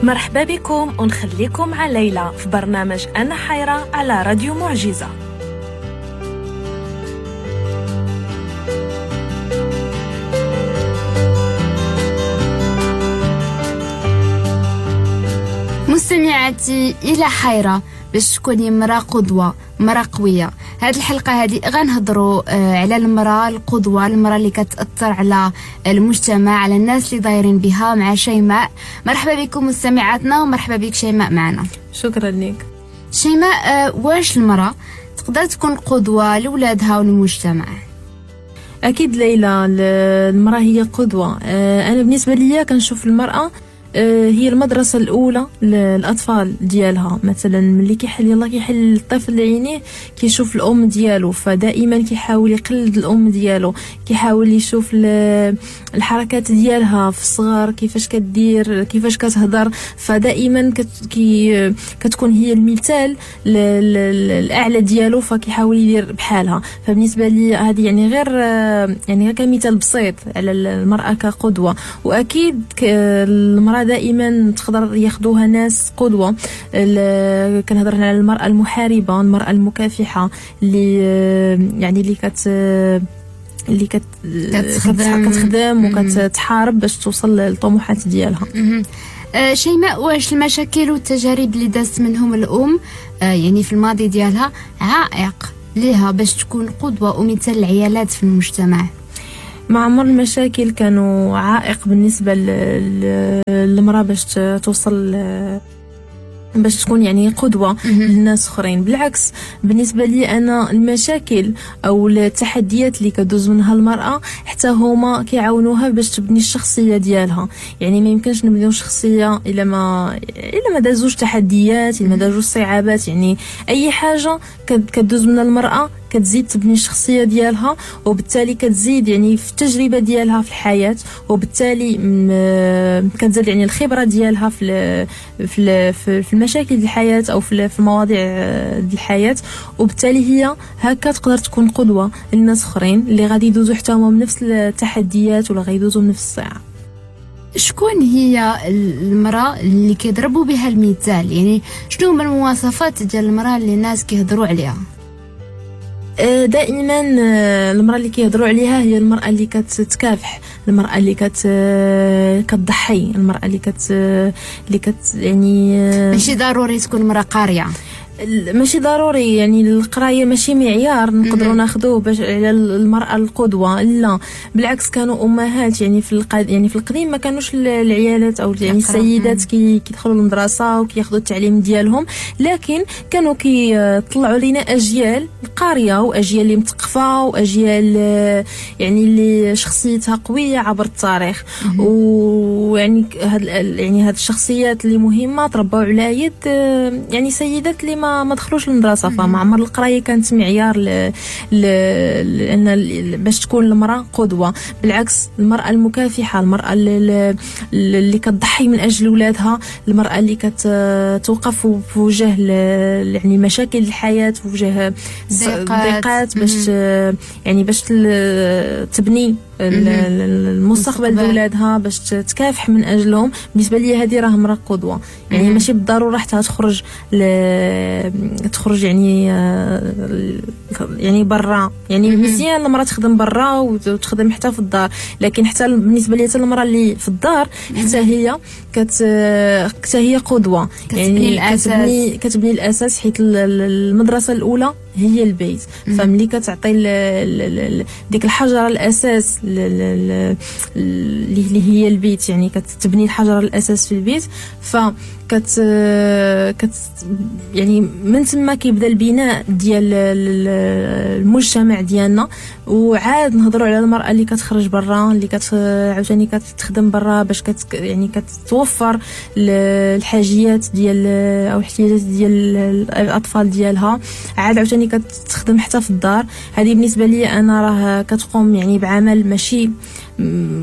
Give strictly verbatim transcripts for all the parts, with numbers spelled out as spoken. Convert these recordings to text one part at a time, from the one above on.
مرحبا بكم ونخليكم مع ليلى في برنامج أنا حيرة على راديو معجزة. مستمعاتي إلى حيرة باش تكوني مرأة قدوة، مرأة قوية. هاد الحلقة هادي غنهضروا على المرأة القدوة، المرأة اللي كتأثر على المجتمع، على الناس اللي دايرين بها، مع شيماء. مرحبا بكم مستمعاتنا ومرحبا بك شيماء معنا. شكرا لك شيماء. واش المرأة تقدر تكون قدوة لولادها والمجتمع؟ أكيد ليلى، المرأة هي قدوة. أنا بالنسبة لي كنشوف المرأة هي المدرسة الأولى للأطفال ديالها. مثلا ملي كيحل يلا كيحل الطفل عينيه كيشوف الأم ديالو، فدائما كيحاول يقلد الأم ديالو، كيحاول يشوف الحركات ديالها في الصغر كيفاش كدير، كيفاش كتهضر، فدائما كي كتكون هي المثال الأعلى ديالو، فكيحاول يدير بحالها. فبالنسبة لي هذه يعني غير يعني غير كمثال بسيط على المرأة كقدوة. وأكيد المرأة دائما تقدر ياخذوها ناس قدوة. كنهضر على المرأة المحاربة، المرأة المكافحة اللي يعني اللي كت اللي كت كتخدم, كتخدم وكتحارب باش توصل للطموحات ديالها. أه شيماء، واش المشاكل والتجارب اللي دازت منهم الأم أه يعني في الماضي ديالها عائق لها باش تكون قدوة ومثال العيالات في المجتمع؟ مع عمر المشاكل كانوا عائق بالنسبة للمرأة باش توصل، باش تكون يعني قدوة للناس اخرين. بالعكس بالنسبة لي أنا المشاكل أو التحديات اللي كدوز منها المرأة حتى هما كيعاونوها باش تبني الشخصية ديالها. يعني ما يمكنش نبنيو شخصية إلا ما إلا ما دازوش تحديات، إلا ما دازوش صعوبات. يعني أي حاجة كدوز منها المرأة كتزيد تبني الشخصية ديالها، وبالتالي كتزيد يعني في التجربة ديالها في الحياة، وبالتالي كتزيد يعني الخبرة ديالها في في في المشاكل ديال الحياة أو في المواضيع ديال الحياة. وبالتالي هي هكا تقدر تكون قدوة للناس اخرين اللي غادي يدوزوا حتى هما بنفس التحديات ولا غيدوزوا بنفس الصعاب. شكون هي المرأة اللي كيضربوا بها المثال؟ يعني شنو هما المواصفات ديال المرأة اللي الناس كيهضروا عليها؟ دائما المرأة اللي كيهضروا عليها هي المرأة اللي كتكافح، المرأة اللي كت كتضحي، المرأة اللي كت اللي كت يعني ماشي ضروري تكون مرأة قارية، ماشي ضروري يعني القراية ماشي معيار نقدروا ناخذوه باش على المراة القدوة. لا بالعكس، كانوا امهات يعني في القد... يعني في القديم ما كانوش العيالات او يعني السيدات كي كيدخلوا للمدرسة وكياخذوا التعليم ديالهم، لكن كانوا كيطلعوا لينا اجيال قارية واجيال اللي مثقفة واجيال يعني اللي شخصيتها قوية عبر التاريخ. ويعني هاد يعني هاد الشخصيات اللي مهمة تربوا على يد يعني سيدات اللي ما ما دخلوش للمدرسة. فما عمر القراية كانت معيار ل... ل... لان باش تكون المراة قدوة. بالعكس المراة المكافحه، المراة اللي, اللي كتضحي من اجل اولادها، المراة اللي كتوقف في وجه ل... يعني مشاكل الحياة، في وجه الضيقات، باش يعني باش تبني المستقبل دولادها، باش تكافح من اجلهم. بالنسبة لي هذه راه امراة قدوة. يعني ماشي بالضرورة حتى تخرج ل... تخرج يعني يعني برا، يعني مزيان المراة تخدم برا وتخدم حتى في الدار، لكن حتى بالنسبة لي حتى المراة اللي في الدار حتى هي كت حتى هي قدوة. يعني كتبني كتبني الاساس، حيت المدرسة الاولى هي البيت. فملي كتعطي ديك الحجرة الاساس اللي هي البيت، يعني كتبني الحجرة الاساس في البيت، ف كت كت يعني من تما كيبدا البناء ديال المجتمع ديالنا. وعاد نهضروا على المراة اللي كتخرج برا، اللي كت عاوتاني كتخدم برا باش كت يعني كتوفر الحاجيات ديال او الاحتياجات ديال الاطفال ديالها. عاد عاوتاني كتخدم حتى في الدار. هذه بالنسبة لي انا راه كتقوم يعني بعمل ماشي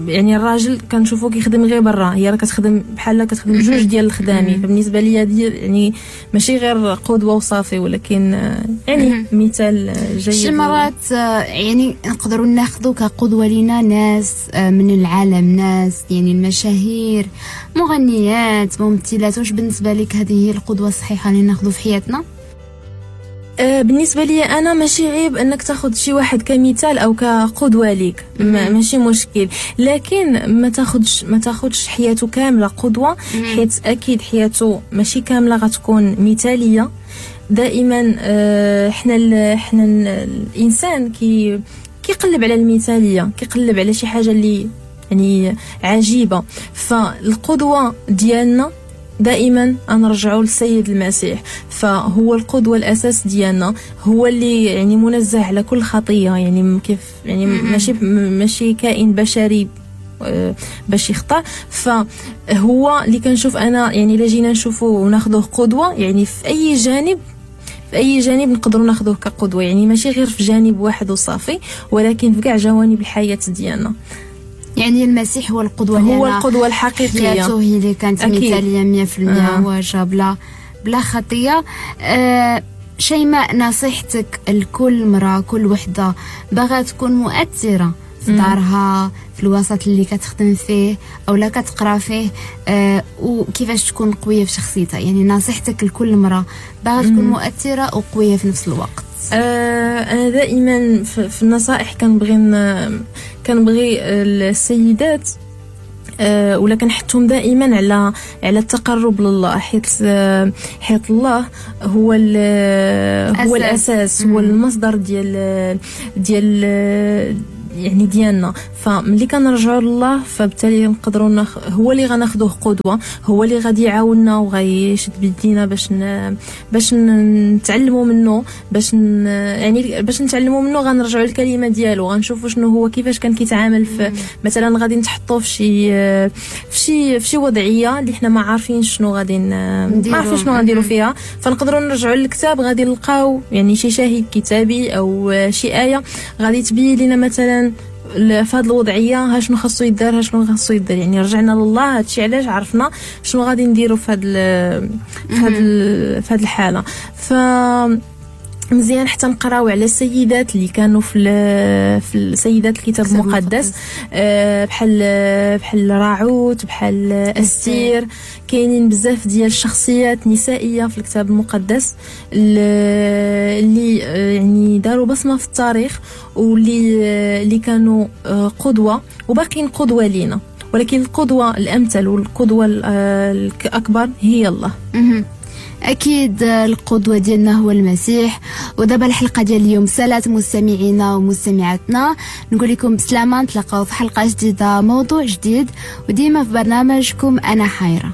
يعني الراجل كنشوفو كيخدم غير برا، هي راه كتخدم بحال كتخدم جوج ديال الخدامي. فبالنسبه لي هذه يعني ماشي غير قدوة وصافي، ولكن يعني مثال جيد. شي مرات يعني نقدروا ناخذوا كقدوه لينا ناس من العالم، ناس يعني المشاهير، مغنيات، ممثلات. واش بالنسبة لك هذه هي القدوة الصحيحة اللي ناخذوا في حياتنا؟ بالنسبة لي انا ماشي عيب انك تاخذ شي واحد كمثال او كقدوه ليك، ماشي مشكل، لكن ما تاخذش ما تاخذش حياته كاملة قدوة، حيت اكيد حياته ماشي كاملة غتكون مثاليه. دائما حنا حنا الانسان كي كيقلب على المثالية، كيقلب على شي حاجة اللي يعني عجيبة. فالقدوه ديالنا دائما نرجعوا للسيد المسيح، فهو القدوة الأساس ديالنا، هو اللي يعني منزه على كل خطية، يعني كيف يعني ماشي ماشي كائن بشري باش يخطأ. فهو اللي كنشوف أنا يعني إلا جينا نشوفه وناخذوه قدوة، يعني في أي جانب في أي جانب نقدروا ناخذوه كقدوة، يعني ماشي غير في جانب واحد وصافي، ولكن في كاع جوانب الحياة ديالنا. يعني المسيح هو القدوة، هو القدوة الحقيقية، حياته هي اللي كانت مثالية مية في المية، هو جا بلا بلا خطية. آه شيماء، نصيحتك لكل مرأة، كل وحدة باغا تكون مؤثرة في دارها، في الوسط اللي كتخدم فيه أو لا كتقرا فيه، آه وكيفاش تكون قوية في شخصيتها؟ يعني نصيحتك لكل مرأة باغا تكون مؤثرة وقوية في نفس الوقت. آه أنا دائما في النصائح كنبغي كنبغي السيدات أه ولا كنحثهم دائما على على التقرب لله، حيت حيت الله هو هو الاساس، هو المصدر ديال ديال يعني ديالنا. فملي كنرجعوا لله فبالتالي نقدروا نخ... هو اللي غناخذوه قدوة، هو اللي غادي يعاوننا وغيشد بيدينا باش ن... باش نتعلموا منه، باش ن... يعني باش نتعلموا منه غنرجعوا للكلمة ديالو، غنشوفوا شنو هو كيفاش كان كيتعامل في مثلا غادي نتحطوا في شي في شي في شي وضعية اللي حنا ما عارفين شنو غادي ن... ما عارفين شنو غنديروا فيها، فنقدروا نرجعوا للكتاب غادي نلقاو يعني شي شاهد كتابي او شي ايه غادي تبين لنا مثلا في هذه الوضعية ها شنو خاصو يدار، ها شنو خاصو يدار. يعني رجعنا لله، هادشي علاش عرفنا شنو غادي نديرو في هاد في هاد في هاد الحالة. ف مزيان حتى نقراو على السيدات اللي كانوا في في السيدات الكتاب المقدس، بحال بحال راعوت، بحال أستير. كاينين بزاف ديال الشخصيات نسائية في الكتاب المقدس اللي يعني داروا بصمة في التاريخ، واللي اللي كانوا قدوة وباقيين قدوة لينا، ولكن القدوة الامثل والقدوة الاكبر هي الله. أكيد القدوة ديالنا هو المسيح. ودابا الحلقة ديال اليوم سالات مستمعينا ومستمعاتنا، نقول لكم بسلامة، نتلاقاو في حلقة جديدة، موضوع جديد، وديما في برنامجكم أنا حيرة.